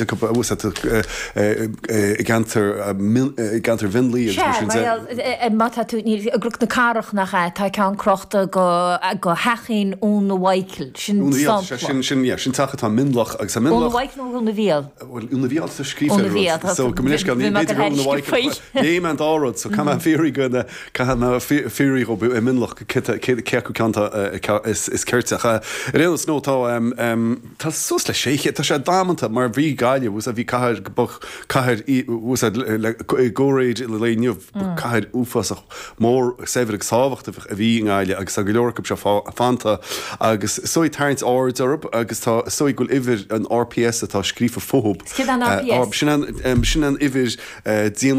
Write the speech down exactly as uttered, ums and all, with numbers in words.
I gceantar i gceantar Mhionlaigh agus mar sin de. Má tá tú i gCnoc na Cathrach nach ea, tá ceann crochta go go theachín Úna Mhichael, sin Úna Mhichael, sin sin yeah, sin teach atá i Mionlach agus tá Mionlach. Úna Mhichael nó Úna Mhichael? Bhuel Úna Mhichael atá scríofa ar an rud, so go minic ní b'fhéidir gur Úna Mhichael. Léigh mé an dá rud, so caithfidh mé fiafraí go na caithfidh mé fiafraí dhóibh i Mionlach cé acu ceann atá is is cirte. Ach ar aon nós no tá tá suas le sé chéad, tá sé damanta mar bhí Gaillimh, bhfuil bhí cathair ba cathair í bhfuil le i gcomhréir le lae inniu ba cathair uafásach mór saibhir agus tábhachtach a bhí i nGaillimh agus tá go leor acu seo fanta agus is dóigh tarraingt aird orthu agus tá is dóigh go bhfuil uimhir an R P S atá scríofa fúthu. Céard é an R P S? Sin an sin an uimhir dian